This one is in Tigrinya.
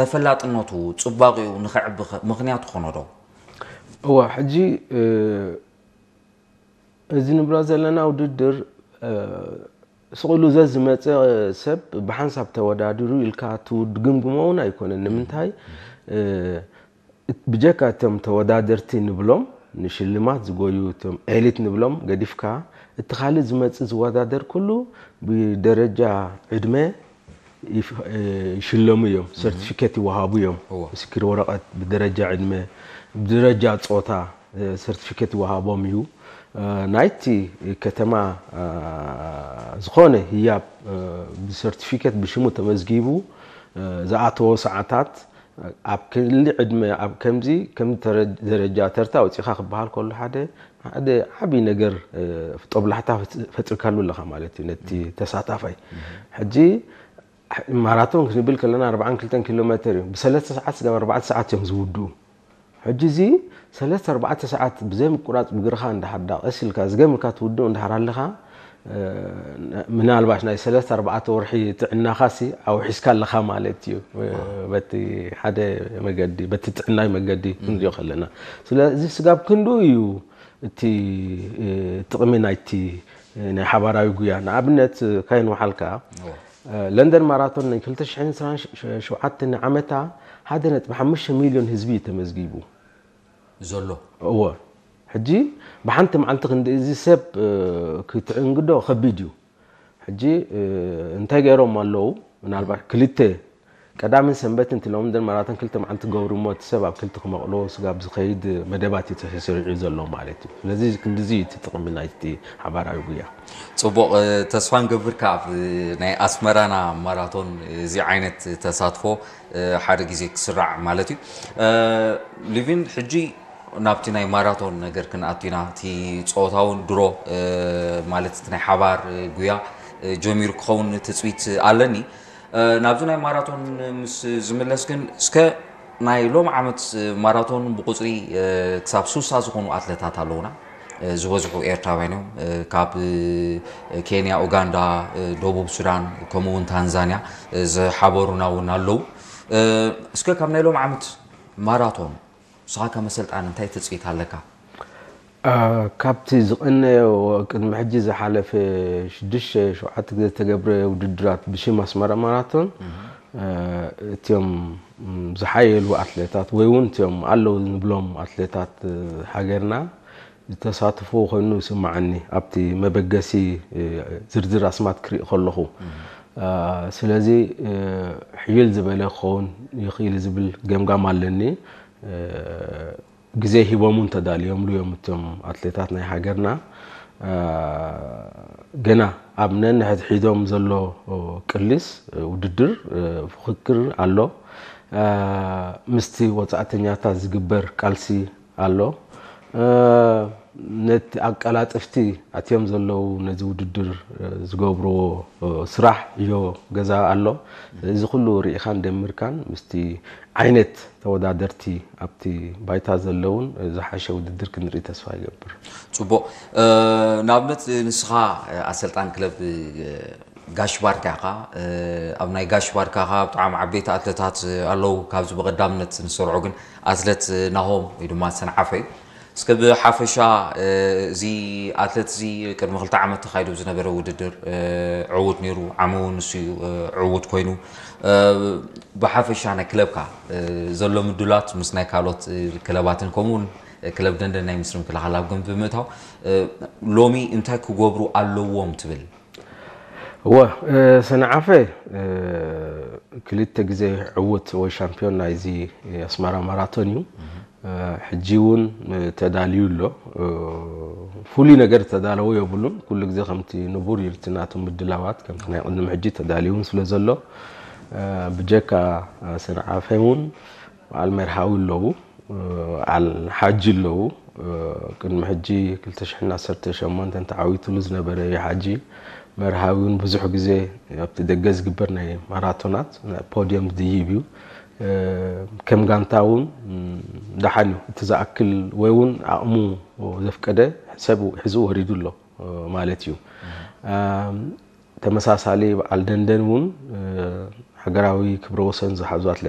ተፈላጥነቱ፣ ጽባቕኡ ንኸዕቢ ኸ ምኽንያት ኾኖ ዶ? እዋ ሕጂ እ፣ እዚ ንብሎ ዘለና ውድድር እ፣ ስቕሉ ዘዝመፀ ሰብ ብሓንሳብ ተወዳድሩ ኢልካ ትውድ ግምግሞ እውን ኣይኮነን። ንምንታይ እ፣ ብጀካ እቶም ተወዳደርቲ ንብሎም ንሽልማት ዝጎዩ እቶም ኤሊት ንብሎም ገዲፍካ እቲ ካልእ ዝመፅእ ዝወዳደር ኩሉ ብደረጃ ዕድመ ይፍ- እ፣ ይሽለሙ እዮም። ሰርቲፊኬት ይወሃቡ እዮም። እዎ። ምስክር ወረቐት ብደረጃ ዕድመ ብደረጃ ፆታ እ፣ ሰርቲፊኬት ይወሃቦም እዩ። እ፣ ናይቲ ከተማ እ፣ ዝኾነ ህያብ እ፣ ብሰርቲፊኬት ብሽሙ ተመዝጊቡ እ፣ ዝኣተዎ ሰዓታት ኣብ ክሊ ዕድመ ኣብ ከምዚ ከም ተረ- ደረጃ ተርታ ኣውፂኻ ክበሃል ከሎ ሓደ ሓደ ዓብዪ ነገር እ፣ ጦብላሕታ ፈጥ- ፈጢርካሉ ኣለኻ ማለት እዩ ነቲ ተሳታፋይ። ሕጂ ማራቶን ክንብል ከለና ኣርባዓን ክልተን ኪሎ ሜትር እዩ። ብሰለስተ ሰዓት ስጋብ ኣርባዕተ ሰዓት እዮም ዝውድኡ። ሕጂ እዚ ሰለስተ ኣርባዕተ ሰዓት ብዘይ ምቁራፅ ብግርኻ እንዳሓዳ ቀስ ኢልካ ዝገምርካ ትውድኡ እንዳሓር ኣለኻ እ፣ ምናልባሽ ናይ ሰለስተ ኣርባዕተ ወርሒ ጥዕናኻሲ ኣውሒስካ ኣለኻ ማለት እዩ። እ፣ በቲ ሓደ መገዲ በቲ ጥዕናዊ መገዲ ክንሪኦ ከለና ስለዚ ስጋብ ክንዱ እዩ እቲ እ፣ ጥቕሚ ናይቲ እ፣ ናይ ሓባራዊ ጉያ ንኣብነት ካይንውሓልካ ለንደን ማራቶን ናይ ክልተ ሽሕን ዕስራን ሸውዓተ ዓመታ ሓደ ነጥቢ ሓሙሽተ ሚልዮን ህዝቢ እዩ ተመዝጊቡ። ዘሎ እዎ ሕጂ ብሓንቲ መዓልቲ ክንዲ እዚ ሰብ እ፣ ክትዕንግዶ ከቢድ እዩ። ሕጂ እ፣ እንታይ ገይሮም ኣለዉ? ምናልባት ክልተ ቀዳምን ሰንበት እንት ሎም ደን ማራቶን ክልተ መዓልቲ ገብሩ እሞ እቲ ሰብ ኣብ ክልተ ክመቕሎ ስጋብ ዝኸይድ መደባት እዩ ተሰሪዑ ዘሎ ማለት እዩ። ስለዚ ክንድዚ እዩ እቲ ጥቕሚ ናይቲ ሓባራዊ ጉያ። ጽቡቕ እ፣ ተስፋ ንገብር ካብ እ፣ ናይ ኣስመራና ማራቶን እዚ ዓይነት ተሳትፎ እ፣ ሓደ ግዜ ክስራዕ ማለት እዩ። እ፣ ሊቪን ሕጂ ናብቲ ናይ ማራቶን ነገር ክንኣቱ ኢና። እቲ ጸወታ እውን ድሮ እ፣ ማለት እቲ ናይ ሓባር እ፣ ጉያ እ፣ ጀሚሩ ክኸውን ትጽቢት ኣለኒ። እ፣ ናብዚ ናይ ማራቶን ምስ ዝምለስ ግን እስከ ናይ ሎም ዓመት ማራቶን ብቁጽሪ እ፣ ክሳብ ሱሳ ዝኾኑ ኣትለታት ኣለውና። እ፣ ዝበዝሑ ኤርትራውያን እዮም። እ፣ ካብ እ፣ ኬንያ፣ ኡጋንዳ፣ እ፣ ደቡብ ሱዳን ከምኡ እውን ታንዛንያ እ፣ ዝሓበሩና እውን ኣለዉ። እ፣ እስከ ካብ ናይ ሎም ዓመት ማራቶን ንስኻ ከም ኣሰልጣኒ እንታይ ትጽቢት ኣለካ? አ፣ ካብቲ ዝቐነዮ ቅድሚ ሕጂ ዝሓለፈ ሽዱሽተ ሸውዓተ ግዜ ዝተገብረ ውድድራት ብሽም ኣስመራ ማራቶን አ፣ እቲኦም ም፣ ዝሓየሉ ኣትሌታት ወይ እውን እቲኦም ኣለዉ ንብሎም ኣትሌታት እ፣ ሃገርና ዝተሳትፎ ኮይኑ ይስማዓኒ ኣብቲ መበገሲ እ፣ ዝርዝር ኣስማት ክርኢ ከለኹ አ፣ ስለዚ እ፣ ሕይል ዝበለ ክኸውን ይኽእል ዝብል ገምጋም ኣለኒ። እ፣ ግዜ ሂቦም እውን ተዳልዮምሉ እዮም እቶም ኣትሌታት ናይ ሃገርና። እ፣ ገና ኣብ ነንሕድሒዶም ዘሎ ቅሊስ ውድድር እ፣ ፍክክር ኣሎ። እ፣ ምስቲ ወፃእተኛታት ዝግበር ቃልሲ ኣሎ። እ፣ ነቲ ኣቀላጥፍቲ ኣትዮም ዘለዉ ነዚ ውድድር እ፣ ዝገብርዎ እ፣ ስራሕ እዮ ገዛ ኣሎ። እዚ ኩሉ ርኢኻን ደሚርካን ምስቲ ዓይነት ተወዳደርቲ ኣብቲ ባይታ ዘለውን ዝሓሸ ውድድር ክንርኢ ተስፋ ይገብር። ጽቡቕ። እ፣ ንኣብነት ንስኻ እ፣ ኣሰልጣን ክለብ እ፣ ጋሽ ባርካ ኢኻ። እ፣ ኣብ ናይ ጋሽ ባርካ ኸኣ ብጣዕሚ ዓበይቲ ኣትለታት ኣለዉ። ካብዚ ብቐዳምነት ንሰርዖ ግን ኣትለት ናሆም ወይ ድማ ሰንዓፈ እዩ። እስከ ብሓፈሻ እ፣ እዚ ኣትለት እዚ ቅድሚ ክልተ ዓመት ተኻይዱ ዝነበረ ውድድር እ፣ ዕዉት ነይሩ። ዓሚ እውን ንሱ እዩ እ፣ ዕዉት ኮይኑ። እ፣ ብሓፈሻ ናይ ክለብካ እ፣ ዘሎ ምድላት ምስ ናይ ካልኦት እ፣ ክለባትን ከምኡ እውን ክለብ ደንደን ናይ ምስሪ ምክልኻል ኣብ ግምት ብምእታው እ፣ ሎሚ እንታይ ክገብሩ ኣለዎም ትብል? እወ እ፣ ሰንዓፈ እ፣ ክልተ ግዜ ዕዉት ወይ ሻምፒዮን ናይዚ ኣስመራ ማራቶን እዩ። እ፣ ሕጂ እውን እ፣ ተዳልዩ ኣሎ። እ፣ ፍሉይ ነገር ተዳለዎ የብሉን። ኩሉ ግዜ ከምቲ ንቡር እዩ እቲ ናቱ ምድላዋት ከምቲ ናይ ቅድሚ ሕጂ ተዳልዩ እውን ስለ ዘሎ እ፣ ብጀካ እ፣ ሰንዓፈ እውን በዓል መርሃዊ ኣለዉ። በዓል ሓጂ ኣለዉ። ቅድሚ ሕጂ ክልተ ሽሕን ዓሰርተ ሸሞንተን ተዓዊትሉ ዝነበረ እዩ ሓጂ። መርሃዊ እውን ብዙሕ ግዜ ኣብቲ ደገ ዝግበር ናይ ማራቶናት ፖድዮም ዝድይብ እዩ። ከም ጋንታ እውን ደሓን እዩ። እቲ ዝኣክል ወይ እውን ዓቕሙ ዘፍቀደ ሰብ ሒዙ ወሪዱ ኣሎ ማለት እዩ። ተመሳሳሊ በዓል ደንደን እውን ሃገራዊ ክብረ ወሰን ዝሓዙ ኣትሌታት